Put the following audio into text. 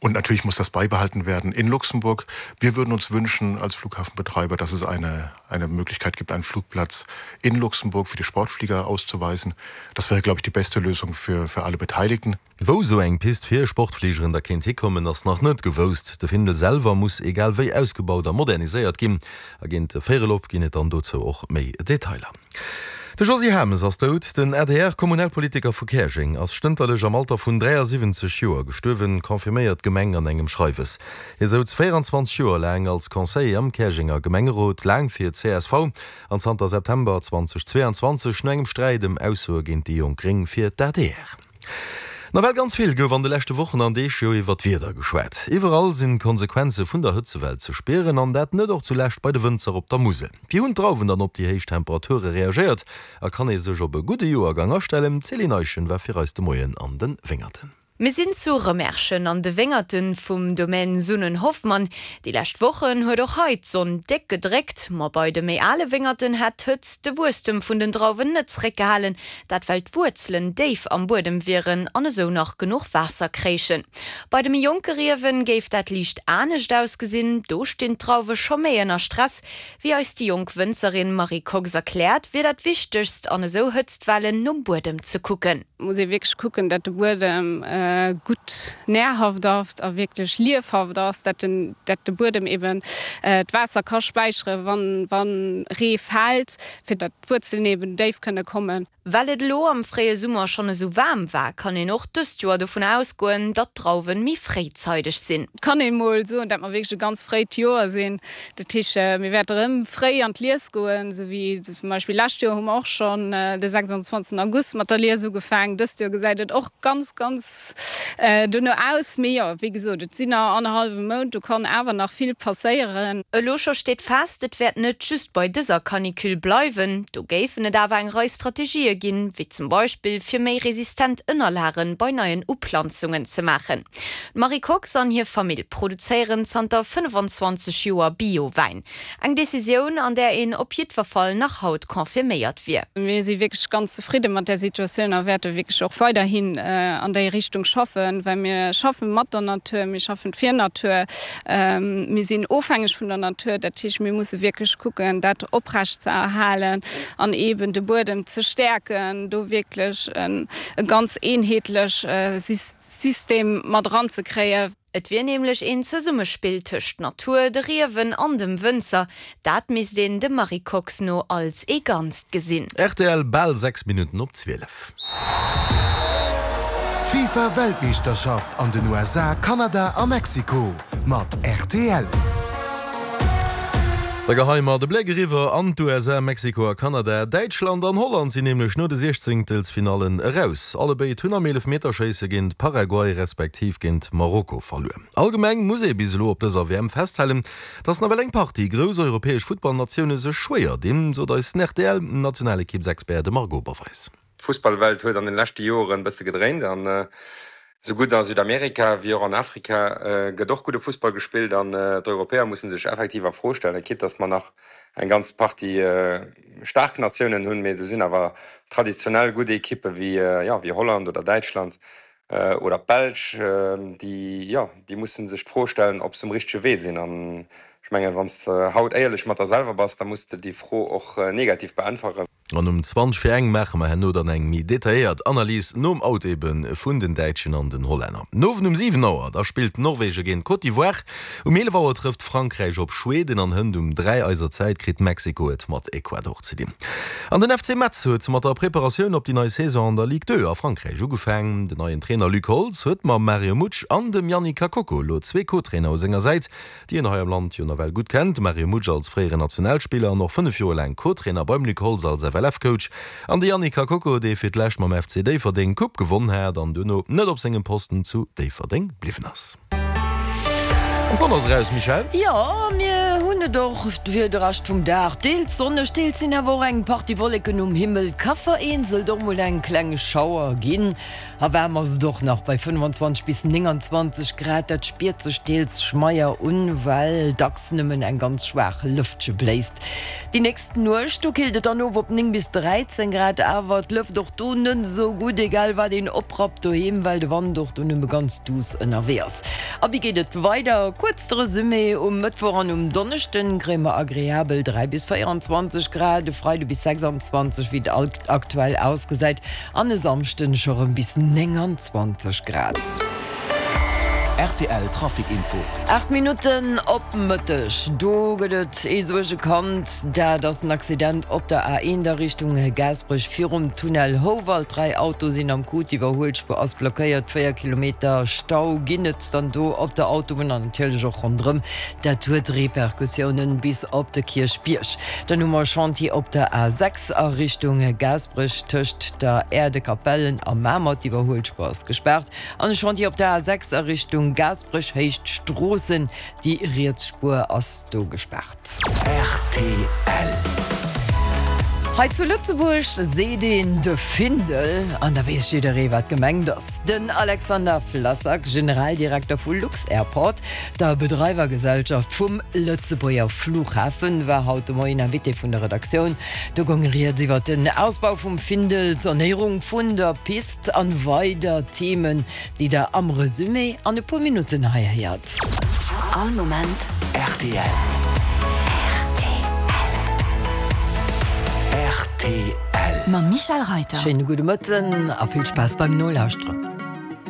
Und natürlich muss das beibehalten werden in Luxemburg. Wir würden uns wünschen als Flughafenbetreiber, dass es eine, eine Möglichkeit gibt, einen Flugplatz in Luxemburg für die Sportflieger auszuweisen. Das wäre, glaube ich, die beste Lösung für, für alle Beteiligten. Wou sou eng Pist fir Sportfligeren da kéint hikommen, ass nach net gewousst. De Findel selwer muss egal wéi ausgebaut a moderniséiert ginn. A géint véierel op ginn et dann dozou och méi Detailer. De Josy Hames ass dout. Den ADR-Kommunalpolitiker vu Käerjeng ass stënterlech am Alter vun 73 Joer gestuerwen, confirméiert d'Gemeng an engem Schreiwes. Hie souz 24 Joer laang als Conseiller am Käerjenger Gemengerot, laang fir csv an zanter September 2022 no engem Sträit ëm Aussoe géint déi Jonk Gréng fir d'ADR. Nawell ganz vill gouf an de leschte Wochen an Deeg jo iwwer d'Wieder geschwat. Iwwerall sinn d'Konsequenze vun der Hëtzewell ze spieren an dat net och zulescht bei de Wënzer op der Musel. Wéi hunn d'Drauwen dann op déi héich Temperature reagéiert a kann ee sech op e gudde Joergang astellen? D'Céline Eischen war fir eis de Moien an de Wéngerten. Mir sinn zu Rëmerschen an de Wéngerten vum Domaine Sunnen-Hoffmann. Déi lescht Wochen huet och hei d'Sonn déck gedréckt. Ma bei de méi ale Wéngerten hätt d'Hëtzt de Wuesstem vun den Drauwen net zeréckgehalen. Dat well d'Wuerzelen déif am Buedem wieren an esou nach genuch Waasser kréichen. Bei de méi jonke Riewen géif dat liicht anescht ausgesinn, do stinn d'Drauwe scho méi ënner Stress. Wéi eis déi jonk Wënzerin Marie Kox erkläert, wier dat Wichtegst an esou Hëtztwellen nom Buedem ze kucken. Muss ee wierklech kucken, dat de Buedem gutt nährhaft ass a wierklech liefhaft ass, dat den dat de Buedem eben d'Waasser ka späichere wann wann Ree fält, fir dat d'Wuerzelen eben déif kënne kommen. Well et elo am fréie Summer schonn esou waarm war, kann een och dëst Joer dovun ausgoen, datt d'Drauwen méi fréizeideg sinn. Et kann een mol soen, dat mer wierklech e ganz fréit Joer sinn. Dat heescht, mir wäerte rëm fréi an d'Lies goen, esou wéi zum Beispill lescht Joer hu mer och schonn de 26 August mat der Lies ugefaangen. Dëst Joer gesäit et och ganz, ganz dono aus. Mee jo, wéi gesot, et sinn nach annerhallwe Mount, do kann awer nach vill passéieren. Elo scho steet fest, et wäert net just bei dëser Canicule bleiwen. Do géifen et awer eng Rei Strategië ginn, wéi zum Beispill fir méi resistent Ënnerlage bei neien Uplanzungen ze maachen. D'Marie Kox an hir Famill produzéieren zanter 25 Joer Bio-Wäin. Eng Decisioun, an där een op jiddwer Fall nach haut confirméiert wier. Mir si wierklech ganz zefridde mat där Situatioun a wäerte wierklech och weiderhin an déi Richtung schaffen, well mir schaffe mat der Natur, mir schaffen fir Natur. Mir sinn ofhängeg vun der Natur, dat heescht, mir musse wierklech kucken, dat oprecht ze erhalen an eeben de Buedem ze stäerken, do wierklech e ganz eenheetlech System mat eranzekréien. Et wier nämlech een Zesummespill tëscht Natur, de Riewen an dem Wënzer. Dat misst een dem Marie Kox no als ee Ganzt gesinn. Rtl, Bal 6 Minutten op 12. D'FIFA Weltmeeschterschaft an den USA, Kanada a Mexiko mat rtl. Da geheie mer de Bléck eriwwer an d'USA, Mexiko a Kanada. Däitschland an Holland sinn nämlech no de Siechzéngtelsfinallen eraus. Allebéid hunn am Eelefmeterschéisse géint Paraguay respektiv géint Marokko verluer. Allgemeng muss ee bis elo op dëser WM festhalen, dass nawell eng Partie grouss europäesch Futtballnatioune sech schwéier dinn, sot eisen RTL-Nationalekippsexpert de Marc Oberweis. D'Fussballwelt huet an den leschte Joren e bësse gedréint an esou gutt a Südamerika wéi och an Afrika gëtt och gudde Fussball gespillt an d'Europäer musse sech effektiv a Fro stellen, quitte datt mer nach eng ganz Partie staark Natiounen hunn, mee do sinn awer traditionell gutt Ekippe wéi, jo, wéi Holland oder Däitschland oder d'Belsch, déi, jo, déi musse sech d'Fro stellen, ob se um richtege Wee sinn. An ech mengen, wann s de haut éierlech mat der selwer bass, da muss de déi Fro och negativ beäntweren. An um 20 vir eng maache mer herno dann eng méi detailléiert Analys, nom Out ebe vun den Däitschen an den Hollänner. Den Owend um 7 Auer, da spillt Norwegen géint Côte d'Ivoire, um 11 Auer trëfft Frankräich op Schweden an hënt um 3 eiser Zäit kritt Mexiko et mat Ecuador ze dinn. An den FC Metz huet mat der Preparatioun op déi nei Saison an der Ligue 2 a Frankräich ugefaang. Den neien Trainer Luc Holtz huet mam Mario Mutsch an dem Yannick Kakoko elo zwee Co-Trainer u senger Säit, déi een hei am Land jo nawell gutt kennt, de Mario Mutsch als fréieren Nationalspiller an och 5 Joer laang Co-Trainer beim Luc Holtz als FLF-Coach, an de Yannick Kakoko, dee fir d'lescht mam FC Déifferdeng d'Coupe gewonn hat an duerno net op sengem Posten zu Déifferdeng bliwwen ass. An d'Sonn ass eraus, Michèle? Jo, mir. hunn et och fir de Rescht vum Dag deels sonneg, deels sinn awer och eng Partie Wolleken um Himmel. Ka vereenzelt och mol eng kleng Schauer ginn. A waarm ass et och nach bei 25 bis 29 Grad. Dat spiert sech deels schmeier un, well dacks nëmmen eng ganz schwaach Lëftche bléist. Déi nächst Nuecht, do killt et dann of op 9 bis 13 Grad, awer d'Lëft och do net esou gutt, egal wat een oprappt doheem, well de Wand och do nëmme ganz duuss ënnerwee ass. A wéi geet et weider? Kuerz de Resumé, Um Mëttwoch an um Donneschden kréie mer agreabel 3 bis 24 Grad, e Freide bis 26, wéi et aktuell ausgesäit, an e Samschden scho rëm bis 29 Grad. Rtl Trafic Info. 8 Minutten op Mëtteg, do gëtt et ee Suergekand. Dat ass en Accident op der A1 a Richtung Gaasperech virum Tunnel Houwald. 3 Autoe sinn am Coup, d'Iwwerhuelspuer ass blockéiert. 4 Kilometer Stau ginn et dann do op der Autobunn an natierlech och ronderëm. Dat huet Repercussiounen bis op de Kierchbierg. Dann hu mer e Chantier op der A6 a Richtung Gaasperech tëscht der Aire de Capellen a Mamer. D'Iwwerhuelspuer ass gespaart. An e Chantier op der A6 a Richtung Gaasperech, Héicht Stroossen. Déi riets Spuer ass do gespaart. Rtl. Hei zu Lëtzebuerg seet een de Findel an da weess jidderee wat gemengt ass. Den Alexander Flassak, Generaldirekter vu lux-Airport, der Bedreiwergesellschaft vum Lëtzebuerger Flughafen, war haut de Moien Invité vun der Redaktioun. Do goung rieds iwwer den Ausbau vum Findel, d'Sanéierung vun der Pist, An weider Themen, déi der am Resumé an e puer Minutten hei héiert. All Moment rtl. Rtl. Mam Michèle Reiter. Schéine gudde Mëtten a vill Spaass beim Nolauschteren.